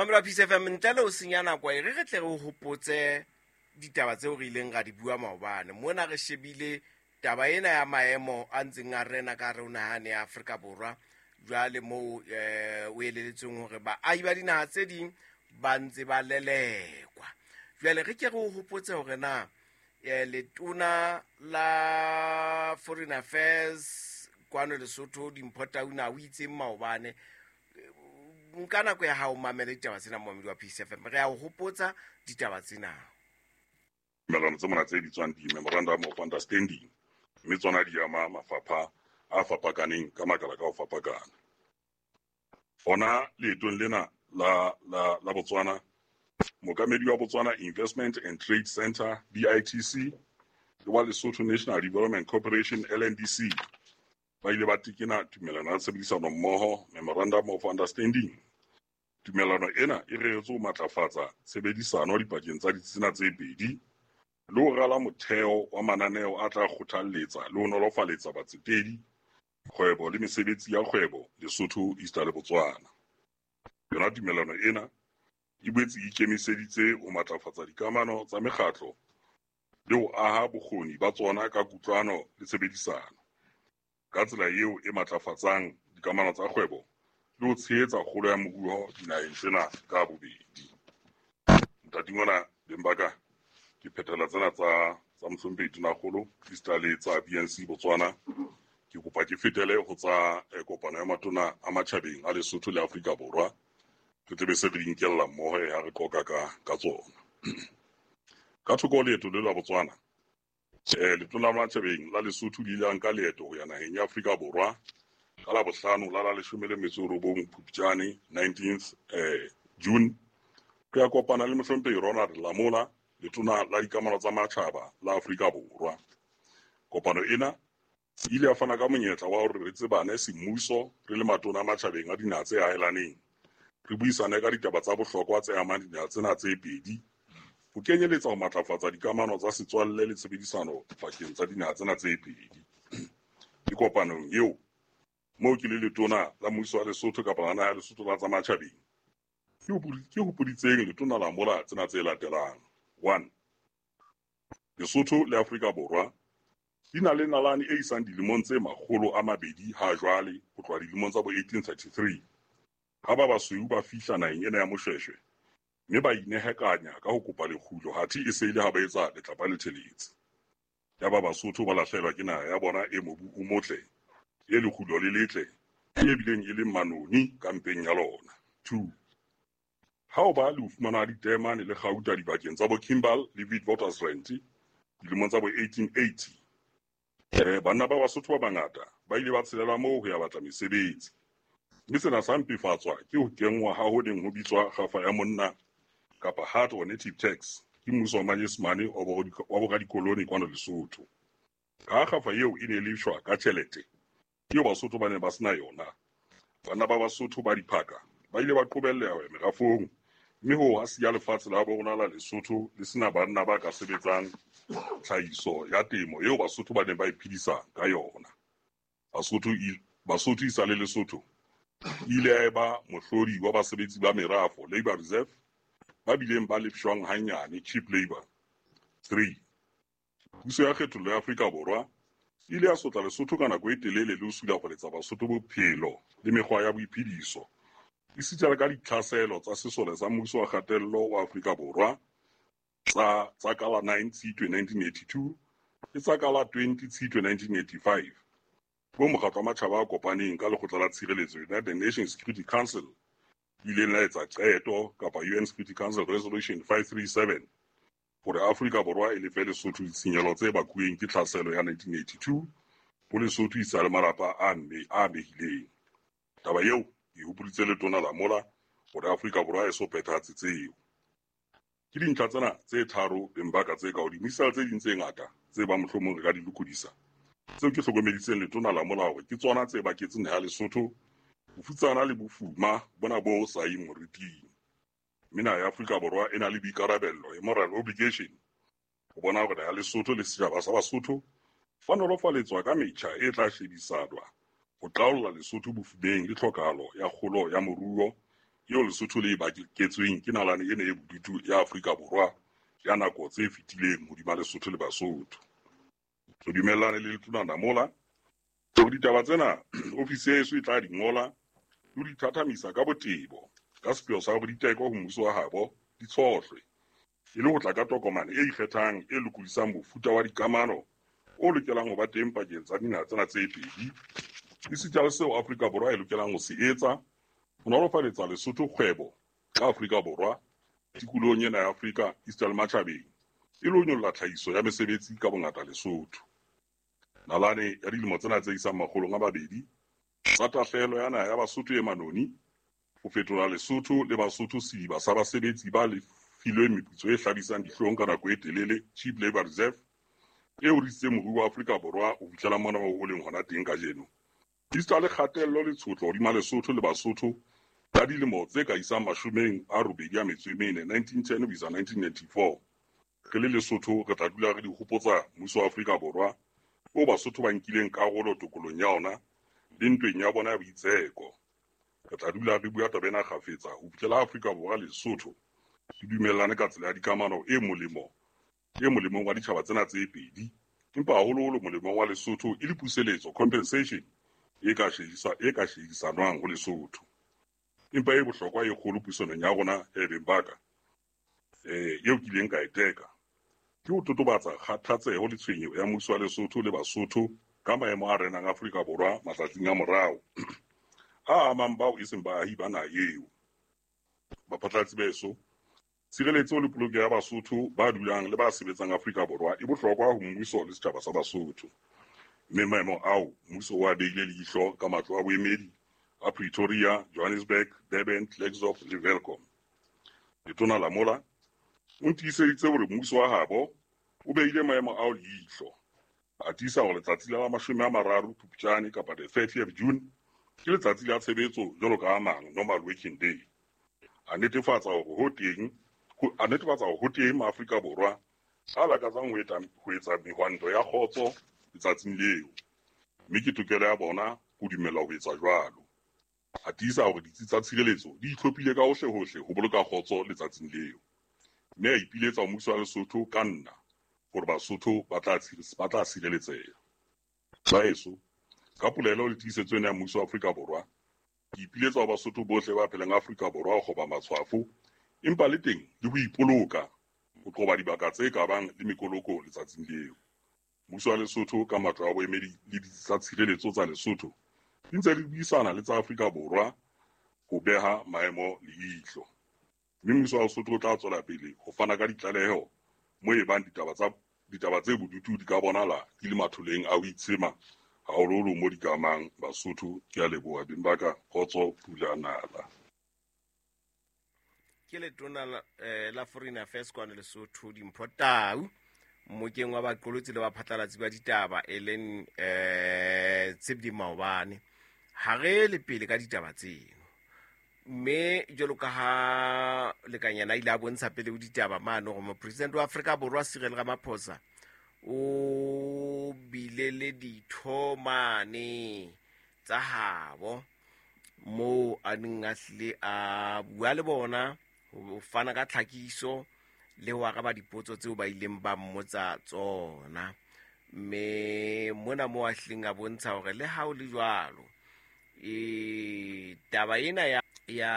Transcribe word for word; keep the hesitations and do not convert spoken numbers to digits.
Mamelo wa Peace F M, ntle le ho senya nako e re re tle re hopotse ditaba tseo re ileng ra di bua maobane. Mona re shebile taba ena ya maemo a ntseng a rena ka hare ho naha ya Afrika Borwa. Jwale moo eh o eleletsweng hore baahi ba dinaha tse ding ba ntse ba lelekwa. Jwale re ke re o hopotse hore na eh letona la Foreign Affairs kwano Lesotho Dimpho Tauna o itseng maobane. Nka nako ya hao mamele ditaba tsena momamedi wa Peace F M. Re a o hopotsa ditaba tsena. Tumelano tse mona tse bitswang di-memorandum of understanding, mme tsona di ama mafapha a fapakaneng ka makala ka ho fapakana. Hona leetong lena la, la, la Botswana, mookamedi wa Botswana Investment and Trade Center B I T C le wa Lesotho National Development Corporation L N D C ba ile ba tekena tumelano ya tshebedisano mmoho, memorandum of understanding. Tumelano ena e reretswe ho matlafatsa tshebedisano dipakeng tsa ditsena tse pedi le ho rala motheo wa mananeo a tla kgothalletsa le ho nolofaletsa batsetedi, kgwebo le mesebetsi ya kgwebo Lesotho, East le Botswana. Yona tumelano ena e boetse e ikemiseditse ho matlafatsa dikamano tsa mekgatlo le ho aha bokgoni ba tsona ka kutlwano le tshebedisano, ka tsela eo e matlafatsang dikamano tsa kgwebo le ho tshehetsa kgolo ya moruo dinaheng tsena ka bobedi. Ntate ngwana beng ba ka, ke phethela tsena tsa, tsa mohlomphehi Tonakgolo esita le tsa B N C Botswana. Ke kopa ke fetele ho tsa, eh, kopano ya matona a matjhabeng a Lesotho le Afrika Borwa. Re tle be se re di nkella mmoho ha re qoqa ka, ka tsona. Ka thoko ho leeto le la Botswana, eh, letona la matjhabeng la Lesotho le ile la nka leeto ho ya naheng ya Afrika Borwa ka la bohlano la la leshome le metso e robong Phupjane, nineteenth, eh, June, re ya kopana le mohlomphehi Ronald Lamola, letona la dikamano tsa matjhaba la Afrika Borwa. Kopano ena e ile ya fana ka monyetla wa hore re tsebane semmuso re le matona a matjhabeng a dinaha tse ahelaneng, re buisane ka ditaba tsa bohlokwa tse amang dinaha tsena tse pedi, ho kenyeletsa ho matlafatsa dikamano tsa setswalle le tshebedisano pakeng tsa dinaha tsena tse pedi. Ke kopanong eo moo ke le letona la mmuso wa Lesotho kapa la naha ya Lesotho la tsa matjhabeng, ke hopodi-, ke hopoditseng letona la mola tsena tse latelang. One, Lesotho le Afrika Borwa di na le nalane e isang dilemong tse makgolo a mabedi ha jwale, ho tloha dilemong tsa bo eighteen thirty-three, ha ba basweu ba fihla naheng ena ya Moshweshwe mme ba inehekanya ka ho kopa lekgulo, hathe e se e le ha ba etsa letlapa le theletse. Yaba Basotho ba lahlehelwa ke naha ya bona e mobu o motle, e lekgulo le letle, e bileng e leng manoni ka mpeng ya lona. Two, ha o ba le ho fumana diteemane le kgauta dibakeng tsa bo Kimberley le Witwatersrand dilemong tsa bo eighteen eighty, eh, banna ba Basotho ba bangata ba ile ba tshelela moo ho ya batla mesebetsi. Mme sena sa mpefatswa ke ho kenngwa ha ho neng ho bitswa kgafa ya monna kapa hard or native tax ke mmuso wa Manyesemane wa bo-, wa boradikoloni kwano Lesotho. Ka kgafa eo e ne e lefshwa ka tjhelete eo Basotho ba ne ba sena yona, banna ba Basotho ba diphaka ba ile ba qobelleha ho ya merafong, mme hoo ha siya lefatshe la bo rona la Lesotho le sena banna ba ka sebetsang tlhahiso ya temo eo Basotho ba neng ba iphedisa ka yona. Basotho i-, Basotho e sa le Lesotho e ile ya eba mohlodi wa basebetsi ba merafo, labor reserve, ba bileng ba lefshwang hanyane, cheap labor. Three, puso ya kgethollo ya Afrika Borwa e ile ya sotla Lesotho ka nako e telele le ho sulafaletsa Basotho bophelo le mekgwa ya boiphediso, esita le ka ditlhaselo tsa sesole sa mmuso wa kgatello wa Afrika Borwa tsa, tsa ka la nine Tshitwe nineteen eighty-two le tsa ka la twenty Tshitwe nineteen eighty-five, bo mokgatlo wa matjhaba a kopaneng ka lekgotla la tshireletso United Nations Security Council ileng la etsa qeto kapa U N Security Council Resolution five three seven hore Afrika Borwa e lefe Lesotho ditshenyehelo tse bakuweng ke tlhaselo ya nineteen eighty-two ho Lesotho e sa le malapa a mme a amehileng. Taba eo e hopoditse letona la mola hore Afrika Borwa e so phethahatse tseo. Ke dintlha tsena tse tharo beng ba ka tse ka hodimo, esita le tse ding tse ngata tse ba mohlomong re ka di lokodisa, tseo ke hlokomeditseng letona la mola hore ke tsona tse baketseng naha ya Lesotho bofutsana le bofuma bona bo sa yeng moriting. Mme naha ya Afrika Borwa e na le boikarabello, e moral obligation, ho bona hore naha ya Lesotho le setjhaba sa Basotho ba nolofaletswa ka metjha e tla shebisanwa ho qaolla Lesotho bofumeng le tlhokahalo ya kgolo ya moruo eo Lesotho le e baketsweng ke nalane ena e bodutu ya Afrika Borwa ya nako tse fetileng hodima Lesotho le Basotho. Re dumellane le Letona Lamola hore ditaba tsena ofisi ya heso e tla di ngola le ho di thathamisa ka botebo ka sepheo sa hore diteko ho mmuso wa habo di tshohlwe e le ho tla ka tokomane e ikgethang e lokodisang mofuta wa dikamano o lokelang ho ba teng pakeng tsa dinaha tsena tse pedi, esita le seo Afrika Borwa e lokelang ho se etsa ho nolofaletsa Lesotho kgwebo ka Afrika Borwa tikolohong ena ya Afrika esita le matjhabeng, e le ho nyolla tlhahiso ya mesebetsi ka bongata Lesotho. Nalane ya dilemo tsena tse isang makgolong a mabedi tsa tahlehelo ya naha ya Basotho e manoni ho fetola Lesotho le Basotho sediba sa basebetsi ba lefilweng meputso e hlabisang dihlong ka nako e telele, cheap labor reserve, e hodisitseng moruo wa Afrika Borwa ho fihlela mona o leng hona teng kajeno. Esita le kgatello le tshotlo hodima Lesotho le Basotho ka dilemo tse ka isang mashomeng a robedi a metso e mene, nineteen ten ho isa nineteen ninety-four. Re le Lesotho re tla dula re di hopotsa mmuso wa Afrika Borwa o Basotho ba nkileng karolo tokolong ya ona le ntweng ya bona ya boitseko. Re tla dula re bua taba ena kgafetsa ho fihlela Afrika Borwa le Lesotho di dumellane ka tsela ya dikamano e molemo e molemong wa ditjhaba tsena tse pedi, empa haholoholo molemong wa Lesotho e le puseletso, compensation e ka shedisa e ka shedisanwang ho Lesotho. Empa e bohlokwa e kgolo puisanong ya rona e beng baka eh eo ke ileng ka e teka ke ho totobatsa kgathatseho le tshwenyeho ya mmuso wa Lesotho le Basotho ka maemo a renang Afrika Borwa matsatsing a morao a amang bao e seng baahi ba naha eo. Baphatlalatsi beso, tshireletso le polokeho ya Basotho ba dulang le ba sebetsang Afrika Borwa e bohlokwa ho mmuso le setjhaba sa Basotho, mme maemo ao mmuso o a behile leihlo ka matlo a boemedi a Pretoria, Johannesburg, Durban, Klerksdorp le Welkom. Letona Lamola o ntiiseditse hore mmuso wa habo o behile maemo ao leihlo, a tiisa hore letsatsi la mashome a mararo Phupjane kapa the thirtieth June ke letsatsi la tshebetso jwalo ka a mang, normal working day. A netefatsa hore ho teng a netefatsa hore ho teng maAfrika Borwa a lakatsang ho etsa ho etsa mehwanto ya kgotso letsatsing leo, mme ke tokelo ya bona ho dumela ho etsa jwalo. A tiisa hore ditsi tsa tshireletso di itlhophile ka hohle-hohle ho boloka kgotso letsatsing leo, mme a ipiletsa ho mmuso wa Lesotho ka nna hore Basotho ba tla ba tla sireletseha. Baheso, ka polelo le tiisetso ena ya mmuso wa Afrika Borwa, ke ipiletsa ho Basotho bohle ba phelang Afrika Borwa ho kgoba matshwafo, empa le teng le ho ipoloka ho qoba dibaka tse ka bang le mekoloko letsatsing leo. Mmuso wa Lesotho ka matlo a boemedi le ditsi tsa tshireletso tsa Lesotho di ntse di buisana le tsa Afrika Borwa ho beha maemo leihlo, mme mmuso wa Lesotho o tla tswela pele ho fana ka ditlaleho mo e bang ditaba tsa ditaba tse bodutu di ka bonahala di le matholeng a ho itshema haholoholo mo di ka amang Basotho. Ke a leboha beng ba ka, kgotso pula nala. Ke letona la, eh, la Foreign Affairs kwano Lesotho, Dimpho Tau, mmokeng wa baqolotsi le baphatlalatsi ba ditaba e leng eh Tshepdi maobane. Ha re le pele ka ditaba tseno, mme jwalo ka ha Lekanyana ile a bontsha pele ho ditaba mane hore mopresidente wa Afrika Borwa Cyril Ramaphosa o bile le ditho mane tsa habo moo a neng a hlile a bua le bona ho fana ka tlhakiso le ho araba dipotso tseo ba ileng ba mmotsa tsona. Mme mona moo a hlileng a bontsha hore le ha ho le jwalo, e taba ena ya ya